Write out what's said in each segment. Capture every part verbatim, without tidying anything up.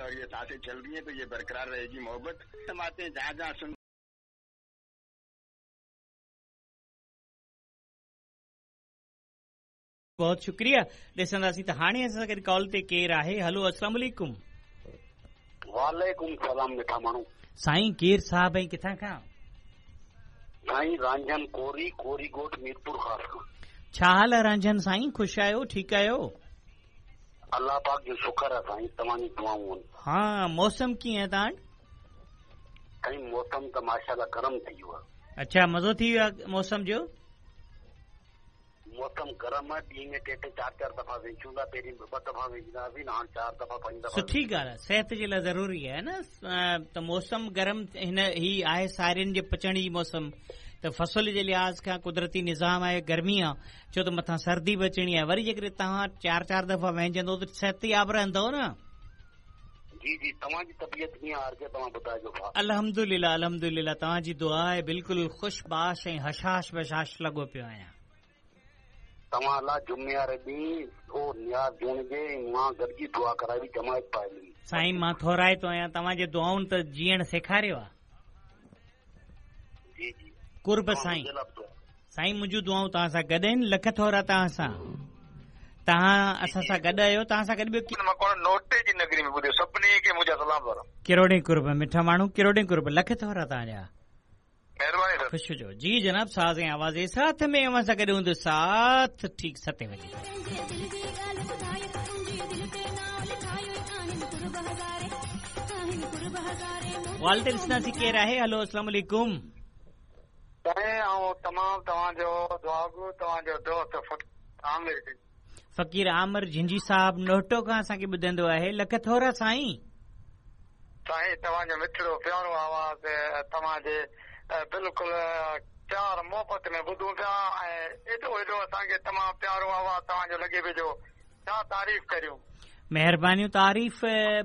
और ये सांसें चल रही हैं तो ये बरकरार रहेगी मोहब्बत। हम आते हैं जहाँ जहाँ सुन। बहुत शुक्रिया। ॾिसंदासीं त हाणे असां सां गॾु कॉल ते केरु आहे। हलो, अस्सलाम वालेकुम। वालेकुम सलाम। मिठा माण्हू साईं, केरु साहब ऐं किथां खां? साईं रांझन कोरी, कोरी ॻोठ, मीरपुर ख़ास खां। छा हाल आहे रांझन साईं? ख़ुशि आहियो? ठीकु आहियो? अलाह पाक जो शुक्र आहे साईं, तव्हांजी दुआऊं आहिनि। हा, मौसम कीअं आहे तव्हां वटि? साईं मौसम त माशाअल्लाह गरम थी वियो आहे। अच्छा, मज़ो थी वियो आहे मौसम जो? मौसम गरम आहे, ॾींहं में टे टे चारि चारि दफ़ा वेचूं था। पहिरीं ॿ दफ़ा वेचंदा हुआसीं, हाणे चारि दफ़ा पंज दफ़ा। सुठी ॻाल्हि आहे, सिहत जे लाइ ज़रूरी आहे न त मौसम गरम। हिन ही आहे सारियुनि जे पचण जी मौसम, त फसल जे लिहाज़ खां कुदरती निज़ाम आहे, गर्मी आहे, छो त मथां सर्दी बि अचणी आहे। वरी जेकॾहिं तव्हां चारि चारि दफ़ा वहिंजंदो त सिहतयाब रहंदव न। जी जी, तव्हांजी तबीयत कीअं आहे? तव्हां ॿुधाइजो। अल्हम्दुलिल्लाह, अल्हम्दुलिल्लाह, तव्हांजी दुआ आहे, बिल्कुलु ख़ुशबाश ऐं हशाश बशाश लॻो पियो आहियां। तव्हां लाइ जुमे वारे ॾींहुं ओ नियाज़ जूणजे मां गॾिजी दुआ कराई जमायत पाए। साईं मां थोराइतो आहियां, तव्हांजे दुआउनि त जीअण सेखारियो आहे। जी जी, कुर्ब साईं। साईं मुंहिंजूं दुआऊं तव्हां सां गॾु आहिनि। लख थोरा तव्हां सां, तव्हां असां सां गॾु आहियो। तव्हां सां गॾु ॿियो नोटे जी नगरी में ॿुधो। सभिनी खे मुंहिंजा सलाम। किरोड़े कुर्ब मिठा माण्हू, किरोड़े कुर्ब, लख थोरा तव्हांजा। मेहरबानी सर। ख़ुशि हुजो। जी जनाब, साज़ ऐं आवाज़ जे साथ में अव्हां सां गॾु हूंदो साथ ठीक सते बजे। कॉल ते ॾिसंदासीं केरु आहे। हलो, अस्सलाम वालेकुम। साईं, तमामु तव्हांजो दुआगो तव्हांजो दोस्त आमिर फ़क़ीर आमिर झिंझी साहब नोटो खां असांखे ॿुधंदो आहे। लख थोरा साईं। साईं तव्हांजो मिठड़ो प्यारो आवाज़ तव्हांजे बिल्कुलु प्यार मोहबत में ॿुधूं पिया ऐं एॾो एॾो असांखे तमामु प्यारो आवाज़ तव्हांजो लॻे पियो जो छा तारीफ़ करियूं। महिरबानियूं। तारीफ़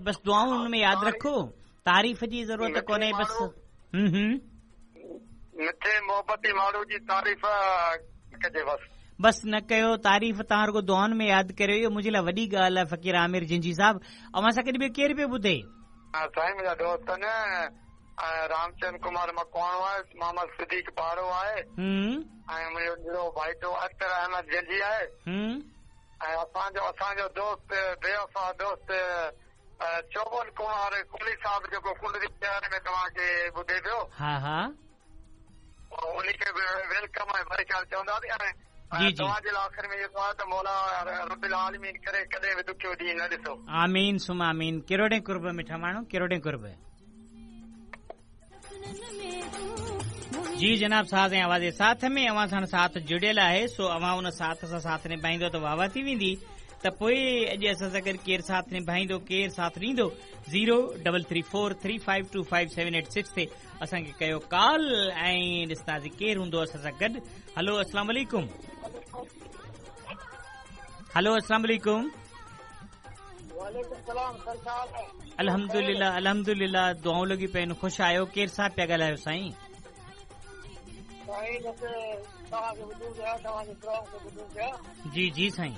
बसि दुआउनि में यादि रखो, तारीफ़ जी ज़रूरत कोन्हे बसि। हम्म हम्म, मिठे मोहबती माण्हू जी तारीफ़ कजे बसि। बसि न कयो तारीफ़, तव्हां रुॻो दुआउनि में यादि करियो, इहो मुंहिंजे लाइ वॾी ॻाल्हि आहे। फ़क़ीर आमिर झिंझी साहब, अव्हां सां गॾु ॿियो केरु पियो ॿुधे? साईं मुंहिंजा दोस्त आहिनि, रामचंद कुमार मकवाणो आहे, मोहम्मद सिद्दीक पाड़ो आहे ऐं मुंहिंजो नंढो भाइटो अख्तर अहमद जंजी आहे ऐं असांजो असांजो दोस्त बेवफ़ा दोस्त चौबन कुमार कोहली साहब जेको कुंडली शहर में तव्हांखे ॿुधे पियो। हा हा, उन खे बि welcome ऐं भाईचार चवंदासीं। ऐं तव्हांजे लाइ आख़िर में जेको आहे त मौला रब्बुल आलमीन करे कॾहिं बि ॾुखियो ॾींहुं न ॾिसो। आमीन सुम आमीन। किरोड़े कुर्ब मिठा माण्हू, किरोड़े कुर्ब। जी जनाब, साज़ ऐं आवाज़ जे साथ में अव्हां सां साथ जुड़ियल आहे, सो अव्हां उन साथ सां साथ निभाईंदो त वाह वाह थी वेंदी। त पोइ अॼु असां सां गॾु केरु साथ निभाईंदो, केरु साथ ॾींदो? Zero double three four three five two five seven eight six ते असांखे कयो कॉल ऐं ॾिसंदासीं केरु हूंदो असां सां गॾु। हलो, अस्सलाम वालेकुम। हलो, अस्सलाम वालेकुम। अल्हम्दुलिल्लाह, अल्हम्दुलिल्लाह, दुआऊं लॻी पयूं आहिनि। ख़ुशि आहियो? केरु साहब पिया ॻाल्हायो साईं? जी जी साईं।